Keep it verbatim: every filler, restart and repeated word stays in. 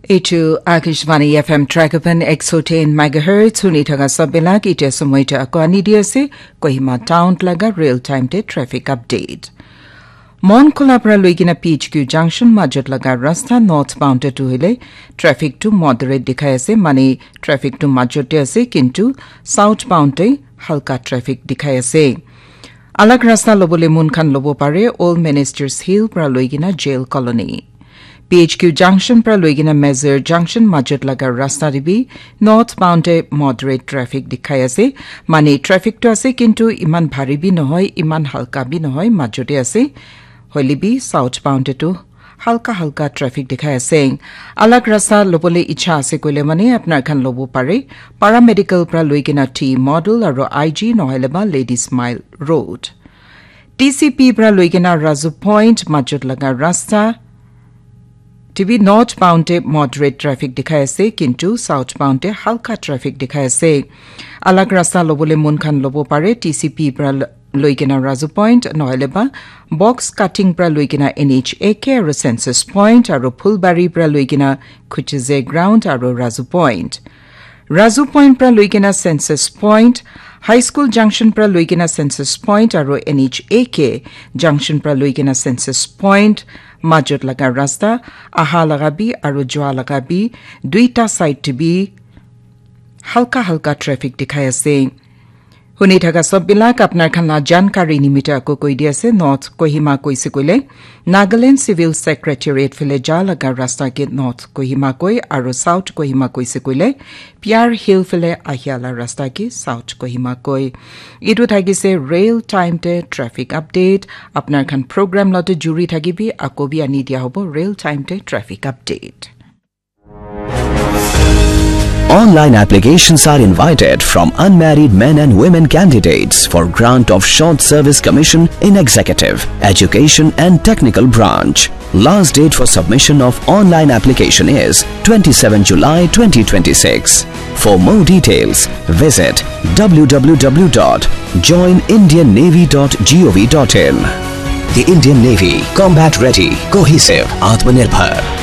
Etu Akashvani F M Tragapan ek so ten megahertz huni thaka sabelak ite somoita akwani di ase Kohima Town laga real time te traffic update. Mon Khula pra loikena P H Q junction majot laga rasta northbound te tu hile traffic tu moderate dikhai ase, mane traffic tu majot te ase, kintu southbound te halka traffic dikhai ase. Alag rasta lobole mun khan lobo pare Old Ministers Hill pra loikena Jail Colony. P H Q junction pra loikena Mazur junction majot laga rasta te bi northbound te moderate traffic dikhai ase. Mane traffic tu ase, kintu iman bhari bi nohoi, iman halka bi nohoi, majot te ase. Hoile bi southbound te tu halka halka traffic dikhai ase. Alag rasta lobole icha ase koile mane apnar khan lobo pare. Paramedical pra loikena T Model aro I G nohole ba Ladies Mile Road. T C P pra loikena Razu Point majot laga rasta te bi northbound te moderate traffic dikhai ase, kintu southbound te halka traffic dikhai ase. Alag rasta lobole mun khan lobo pare T C P pra loikena Razu Point nohole ba Box Cutting pra loikena N H A K aro Census Point aro Phulbari pra loikena Khuchize Ground aro Razu Point. Razu Point pra loikena Census Point, High School Junction pra loikena Census Point aro N H A K Junction pra loikena Census Point majot laga rasta aha laga bi aro jua laga bi duita side te bi halka halka traffic dikhai ase. Huni thaka sob bilak apnar khan la jankari nimite ako koi di ase, North Kohima koise koile Nagaland Civil Secretariat phale ja laga rasta ke North Kohima koi aro South Kohima koise koile Pyar Hill phale ahia la rasta ke South Kohima koi. Etu thakise real time te traffic update. Apnar khan program lote juri thakibi, ako bi ani dia hobo real time te traffic update. Online applications are invited from unmarried men and women candidates for grant of Short Service Commission in Executive, Education and Technical Branch. Last date for submission of online application is twenty-seven July twenty twenty-six. For more details, visit w w w dot join indian navy dot gov dot in. The Indian Navy, combat ready, cohesive, Atmanirbhar.